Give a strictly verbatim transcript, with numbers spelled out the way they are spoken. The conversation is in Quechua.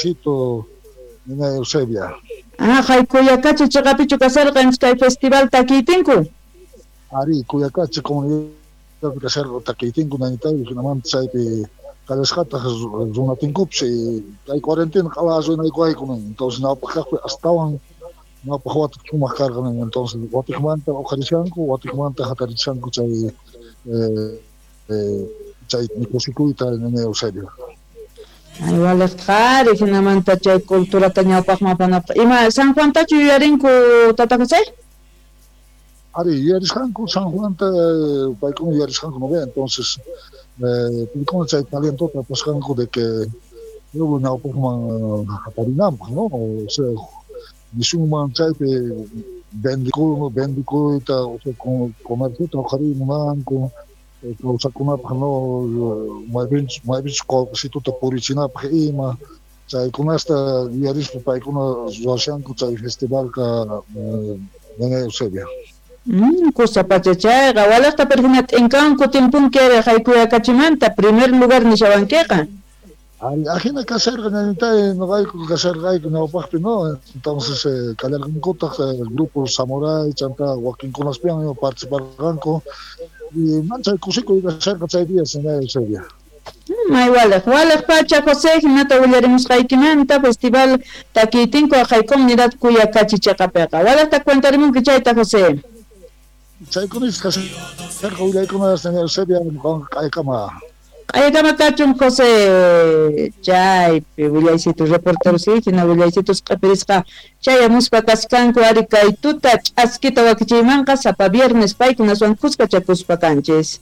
Willaysito, nina Eusebia. Ah, hay Kuyakachi chiqapichu kasarqa kay festival takiytinku? Ari, Kuyakachi comunidad kasarqa takiytinku nanitay, hinamanta chaypi qallasqataq runatinkupas kay cuarentena q'ala runaykuyayku entonces ñawpaq kaqpi astawan ñawpaq wata sumaq karqa entonces watiqmanta uqharishanku watiqmanta hatarishanku chay eh, eh, chay kusikuyta nina Eusebia. Ay, waliq qhari hinamanta chay culturata ñawpaqman apanapaq. Ima San Juantachu yuyarinku tata José? Ari, yuyarisqanku San Juanta paykuna yuyarisqanku no ve, entonces eh, paykuna chay talentota apasqanku de que pueblo ñawpaqman hatarinanpaq, no? O sea, nisunman chaypi vendikuy, vendikuyta, o sea, comerciota uqhariy munanku, kawsakunapaq, no, maypinchus maypinchus qullqisituta purichinapaq ima, chaykunasta yuyarispa paykuna ruwashanku chay festivalqa nina Eusebia. Mm, kusa pacha chayqa waliqta pero hina t'inkanku timpunki ari Kuyakachimanta primer lugar nishawankiqa. Ari, ajina kasharqa ñañitay noqayku kasharqayku ñawpaqpi, no, entonces eh, kallarqankutaq eh, grupo Samurai chanta wakinkunaspiwan participarqanku y manchay kusikuy kasharqa chay día señora Eusebia. May waliq, waliq pacha José hinata willarimusqaykimanta festival takiytinku aqhay comunidad Kuyakachi chiqapiqa. Waliqta cuentarimunki chayta José. Chaykunis kasharqa willaykuna señora Eusebia q'aykama. Q'aykama kachun José chaypi willaysitu reporteros hina willaysitus q'ipirisqa chayamuspa kaskanku ari kay tuta ch'askita wakichiymanqa sapa viernes paykunaswan kuskachakuspa kanchis.